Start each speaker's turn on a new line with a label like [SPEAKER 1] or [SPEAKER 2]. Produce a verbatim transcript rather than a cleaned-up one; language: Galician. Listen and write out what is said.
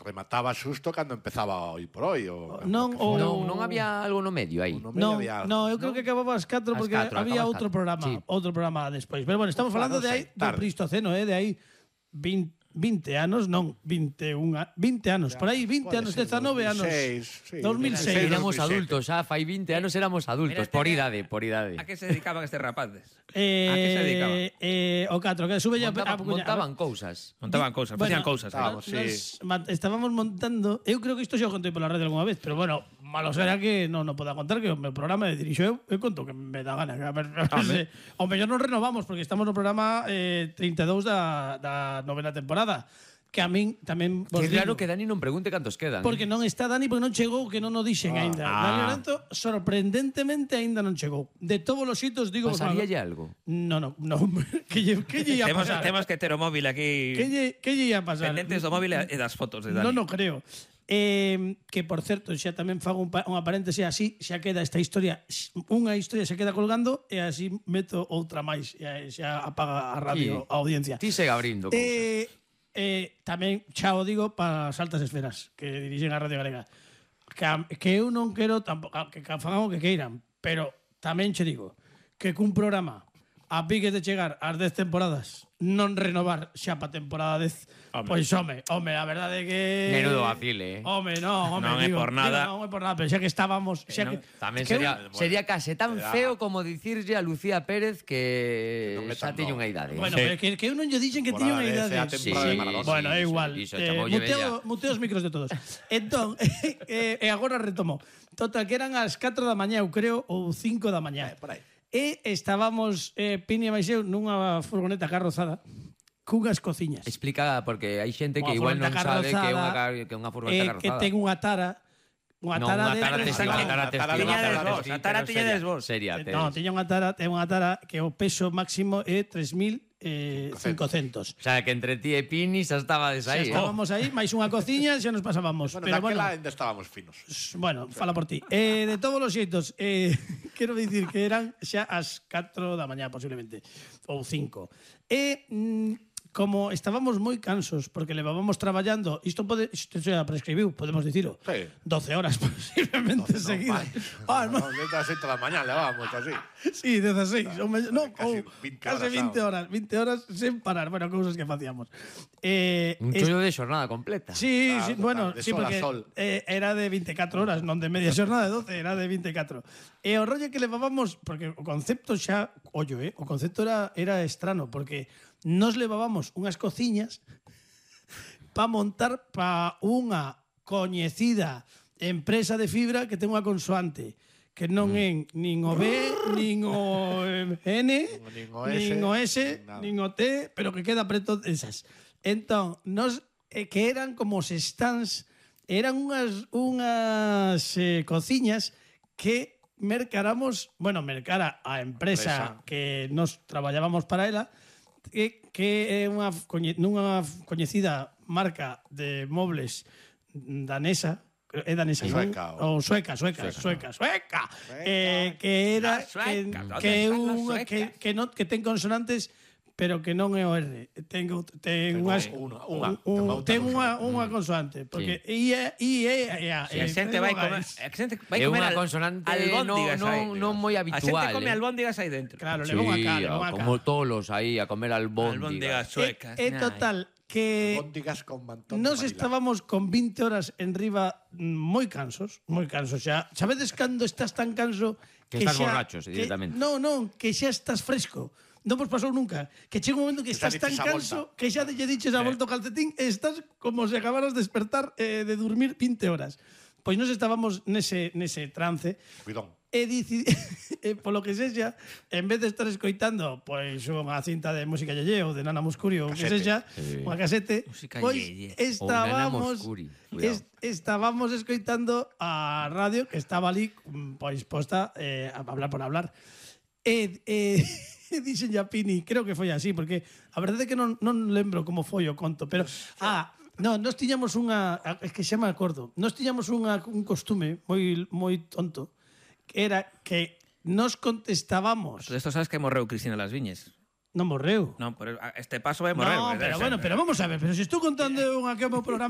[SPEAKER 1] remataba xusto cando empezaba Hoy por Hoy.
[SPEAKER 2] Non,
[SPEAKER 3] non, non había algo no medio aí.
[SPEAKER 2] Non, non, eu creo que acababa ás catro porque había outro programa, outro programa despois. Pero bueno, estamos falando de aí do Pleistoceno, eh, de aí vinte vinte anos, non, vinte e un, vinte anos, por aí vinte anos, dezanove anos. dos mil seis.
[SPEAKER 3] Éramos adultos, xa, fai vinte anos éramos adultos, por idade, por idade.
[SPEAKER 4] A que se dedicaban estes rapaces?
[SPEAKER 2] Eh,
[SPEAKER 4] a que se dedicaban?
[SPEAKER 2] Eh, o catro, que sube ya
[SPEAKER 3] Montaba, montaban cousas.
[SPEAKER 4] Montaban cousas, facían cousas.
[SPEAKER 2] Estábamos, sí. estábamos montando, eu creo que isto xa o contei pola radio algunha vez, pero bueno, malo será que non no poda contar, que o meu programa de dirixo eu, eu conto que me dá gana. A ver, a ver, o mellor non renovamos, porque estamos no programa eh, trinta e dous da, da novena temporada. Que a min tamén vos
[SPEAKER 3] que
[SPEAKER 2] digo.
[SPEAKER 3] Claro que Dani non pregunte cantos quedan.
[SPEAKER 2] Porque non está Dani, porque non chegou, que non o dixen ah, aínda. Ah. Dani Lorenzo, sorprendentemente, aínda non chegou. De todos os xitos, digo...
[SPEAKER 3] Pasaríalle algo?
[SPEAKER 2] No, no, no. que lle, que lle ia pasar?
[SPEAKER 4] Temos que ter o móvil aquí...
[SPEAKER 2] Que lle, que lle ia pasar?
[SPEAKER 4] Pendentes do móvil e das fotos de Dani.
[SPEAKER 2] Non, non creo. Eh, que, por certo, xa tamén fago un, unha paréntese, así xa queda esta historia, unha historia xa queda colgando e así meto outra máis e xa apaga a radio, a audiencia.
[SPEAKER 3] Ti segue abrindo cousas.
[SPEAKER 2] Eh, Eh, tamén xa o digo para as altas esferas que dirixen a Radio Galega, que, que eu non quero tampouco que fagan o que queiran, pero tamén che digo que cun programa a pique de chegar ás dez temporadas non renovar xa pa temporada dez, pois home, home, a verdade é que
[SPEAKER 3] menudo vacile, eh.
[SPEAKER 2] Home, non, home,
[SPEAKER 4] non
[SPEAKER 2] digo,
[SPEAKER 4] é por nada.
[SPEAKER 2] Digo, non é por nada, pero xa que estábamos, xa
[SPEAKER 3] eh,
[SPEAKER 2] que
[SPEAKER 3] no, tamén
[SPEAKER 2] que
[SPEAKER 3] sería
[SPEAKER 2] un,
[SPEAKER 3] sería case tan feo como dicirlle a Lucía Pérez que
[SPEAKER 1] no
[SPEAKER 3] xa tiña unha idade.
[SPEAKER 2] Bueno,
[SPEAKER 3] sí.
[SPEAKER 2] pero que, que eu non lle dixen que tiña unha idade.
[SPEAKER 3] Sí,
[SPEAKER 2] sí, bueno, é igual.
[SPEAKER 3] Sí,
[SPEAKER 2] eh, muteo, muteo os micros de todos. Entón, e eh, eh, agora retomo. Total, que eran as catro da mañá, eu creo, ou cinco da mañá.
[SPEAKER 1] Eh, por aí.
[SPEAKER 2] E estábamos, eh, Pini e Baixeu, nunha furgoneta carrozada cunhas cociñas.
[SPEAKER 3] Explica, porque hai xente que igual non sabe que é unha, que unha furgoneta carrozada.
[SPEAKER 2] Que ten unha tara, unha tara de...
[SPEAKER 4] A tara tiña des vos.
[SPEAKER 3] Seria.
[SPEAKER 2] Non, tiña unha tara, ten unha tara que o peso máximo é tres mil cincocentos.
[SPEAKER 3] O sea, que entre ti e Pini xa estabades aí.
[SPEAKER 2] Xa estábamos aí, máis unha cociña, xa nos pasábamos.
[SPEAKER 1] Bueno,
[SPEAKER 2] pero
[SPEAKER 1] daquela
[SPEAKER 2] bueno,
[SPEAKER 1] ainda estábamos finos.
[SPEAKER 2] Bueno, fala por ti. Eh, de todos os xeitos, eh, quero dicir que eran xa as catro da mañá, posiblemente, ou cinco. E... Mm, como estábamos moi cansos porque levábamos traballando, isto pode, isto xa prescribiu, podemos dicilo,
[SPEAKER 1] sí.
[SPEAKER 2] doce horas posiblemente
[SPEAKER 1] no,
[SPEAKER 2] seguidas.
[SPEAKER 1] No, ah, no, desde as sete da mañá levábamos así.
[SPEAKER 2] Sí, dezaseis, o me, no,
[SPEAKER 1] casi,
[SPEAKER 2] ou,
[SPEAKER 1] vinte
[SPEAKER 2] casi vinte horas, vinte horas sen parar, bueno, cousas que facíamos. Eh,
[SPEAKER 3] un chollo de xornada completa.
[SPEAKER 2] Sí,
[SPEAKER 1] claro,
[SPEAKER 2] sí,
[SPEAKER 1] total,
[SPEAKER 2] bueno,
[SPEAKER 1] de
[SPEAKER 2] sí,
[SPEAKER 1] sol
[SPEAKER 2] porque
[SPEAKER 1] a sol.
[SPEAKER 2] Eh, era de veinticuatro horas, non de media xornada de doce, era de veinticuatro. E o rollo que levábamos, porque o concepto xa, ollo, eh, o concepto era, era estrano, porque nos levábamos unhas cociñas para montar para unha coñecida empresa de fibra que ten unha consoante que non é nin o B, nin o N,
[SPEAKER 1] nin o S,
[SPEAKER 2] nin o, S, nin o T, pero que queda preto esas. Entón, nos eh, que eran como os stands, eran unhas unhas eh, cociñas que mercaramos, bueno, mercara a empresa, empresa que nos traballábamos para ela, que, que é unha coñe, nunha coñecida marca de mobles danesa, é danesa,
[SPEAKER 1] sueca,
[SPEAKER 2] ou oh, sueca, sueca, sueca, sueca, sueca, sueca. Eh, que era sueca, que, que, unha, que, que, non, que ten consonantes pero que non é o R. Ten, ten unhas
[SPEAKER 1] unha, unha,
[SPEAKER 2] un, ten unha unha consoante, porque I E I E A.
[SPEAKER 4] A xente vai comer, a xente vai comer
[SPEAKER 3] unha consonante albóndigas non non moi habitual.
[SPEAKER 4] A xente come albóndigas aí dentro.
[SPEAKER 2] Claro, le vou acá, le vou acá.
[SPEAKER 3] Como tolos aí a comer albóndigas.
[SPEAKER 4] Albóndigas suecas.
[SPEAKER 2] É total que nos estábamos con vinte horas en riba moi cansos, moi cansos xa. Sabedes cando estás tan canso
[SPEAKER 3] que, que estás xa, borrachos directamente.
[SPEAKER 2] Non, non, que xa estás fresco. Non vos pasou nunca que chega un momento que estás tan canso que xa lle diches a volta o calcetín e estás como se acabaras de despertar eh, de dormir vinte horas. Pois nos estábamos nese, nese trance.
[SPEAKER 1] Cuidón.
[SPEAKER 2] E dici, e polo que sexa, en vez de estar escoitando pois unha cinta de música yeye ou de Nana Muscuri ou que sexa, sí. unha casete, pois estábamos est, estábamos escoitando a radio que estaba ali pois posta eh, a hablar por hablar. E eh, dixen a Pini, creo que foi así, porque a verdade é que non, non lembro como foi o conto, pero ah, no, nós tiñamos unha, é que xa me acordo, nós tiñamos unha, un costume moi moi tonto, que era que nos contestábamos.
[SPEAKER 4] Pero esto sabes que morreu Cristina Las Viñes.
[SPEAKER 2] Non morreu.
[SPEAKER 4] Non, pero este paso vai morrer.
[SPEAKER 2] No, pero bueno, pero vamos a ver, pero se si estou contando unha que o meu programa